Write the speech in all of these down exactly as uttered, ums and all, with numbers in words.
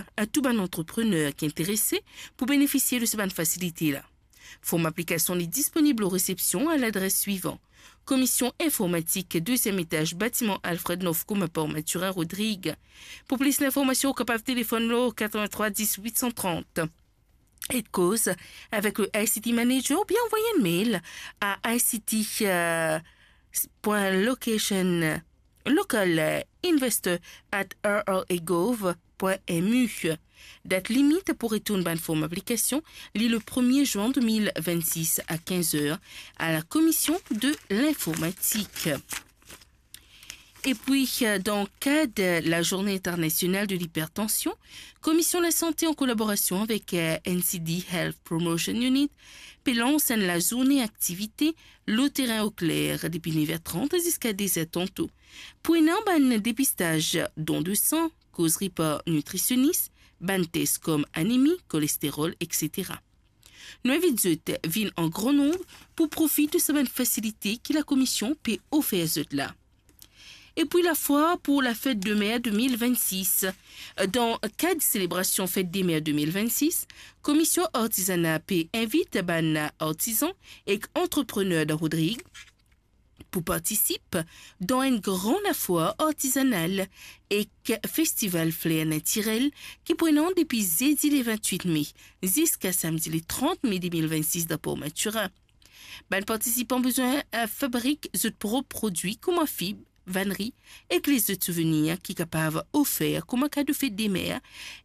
a tou bann antreprener ki interese pou benefisie de sa bann fasilite la. Form aplikasion li disponib lor resepsion a ladres swivan: Komision Informatik, deziem etaz, batiman Alfred Nov, komin Port Mathurin, Rodrig. Pou plis linformasion, ou kapav telefonn lor katrevin-trwa dis wit san trant. Ek koz avek le I C T Manager oubien anvoy enn mail a I C T, euh, point location, local, euh, investor at R R A gov point M U. Dat limit pou retourn bann form aplikasion, li le premie zin de mil vennsis a kinz er a la Komision de Linformatik. Epi, euh, dan kad Lazourne Internasional de Lipertansion, Komision Lasante, an kolaborasion avek, euh, N C D Health Promotion Unit, pe lans enn lazourne aktivite lor terin Okler depi nef er trant ziska de zer tanto. Pou ena bann depistaz don de san, kozri par nitrisionis, bann tes kom anemi, kolesterol, et cetera. Nou invit zot vinn an gran nonb pou profit de sa bann fasilite ki Lakomision pe ofer zot la. Epi lafwar pou lafet de mer de mil vennsis. Dan kad selebrasion fet de mer de mil vennsis, Komision Artizana pe invit bann artizan ek antreprener dan Rodrig pou partisip dan enn gran lafwar artizanal ek festival fler natirel ki pou ena depi zedi le vintwit me ziska samdi le trant me de mil vennsis dan Port Mathurin. Bann partisipan bizin, eh, fabrik zot prop prodwi kouma fib, vanri ek lezot souvenir ki kapav ofer kouma kado fet de mer,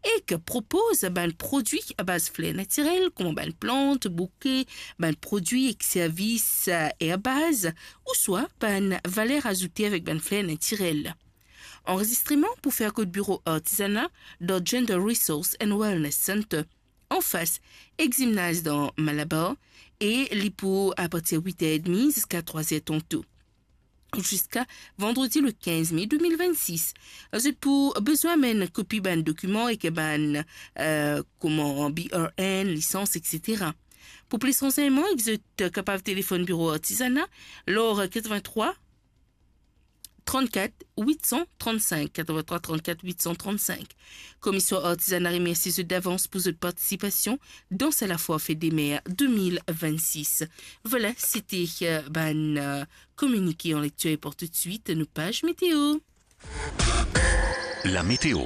ek propoz bann prodwi abaz fler natirel kouma bann plant, bouke, bann prodwi ek servis, eh, erbaz, ouswa bann valer azoute avek bann fler natirel. Anrezistreman pou fer kot biro artizana dan Gender Resource and Wellness Center, anfas ek zimnaz dan Malabar, e li pou apartir wit er edmi ziska trwa zer tanto, ziska vandredi le kinz me de mil vennsis. Zot pou bizin amenn kopi bann dokiman ek bann, eh, kouma B R N, lisans, et cetera. Pou plis ransegnman, zot kapav telefonn biro artizana lor katrevin-trwa trannkat wit san trannsenk, katrevin-trwa trannkat wit san trannsenk. Komision Artizana remersie zot davans pou zot partisipasion dan sa lafwar fet de mer de mil vennsis. Vwala, sete, eh, bann, eh, kominike an lektir e pou toutswit nou paz meteo. La météo.